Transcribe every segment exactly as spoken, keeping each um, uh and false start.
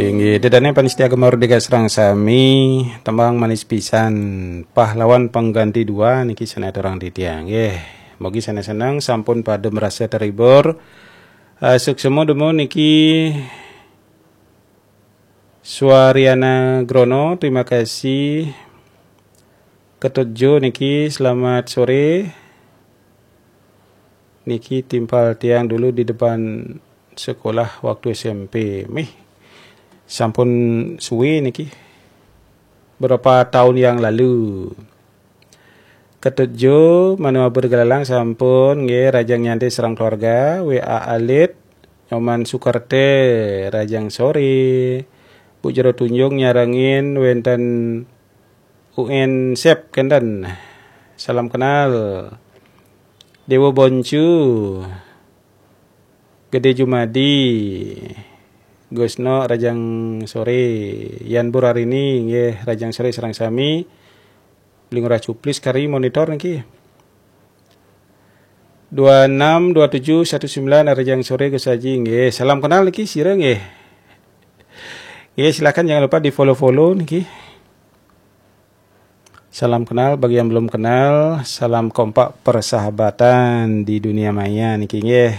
Inggih, dedane panitia Gema Merdeka sareng sami, tembang manis pisan, pahlawan pengganti dua niki sanes aturang titiang. Nggih, mugi sanes seneng, sampun pada merasa terhibur. Eh, suksma dumun niki Suariana Grono, terima kasih. Ketut Jo niki, selamat sore. Niki timpal tiang dulu di depan sekolah waktu S M P. Mih, sampun suwe niki. Berapa tahun yang lalu. Ketut Jo, manua bergelalang sampun, nggih, Rajang Nyanti sareng keluarga, W A alit, Nyoman Sukarte, Rajang sore, Bu Jero Tunjung nyarengin wenten U N Sep kenten. Salam kenal. Dewa Boncu, Gede Jumadi, Gusno, Rajang sore, Yan Burarini, nggih, Rajang sore sareng sami. Beli Ngurah Cuplis kari monitor niki. Dua enam dua tujuh satu sembilan, Rajang sore Gus Haji, nggih. Salam kenal niki sira, nggih. Nggih, silakan jangan lupa di-follow-follow niki. Salam kenal bagi yang belum kenal, salam kompak persahabatan di dunia maya niki, nggih.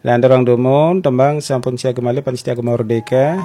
Lan aturang dumun, tembang sampun siaga malih panitia Gema Merdeka.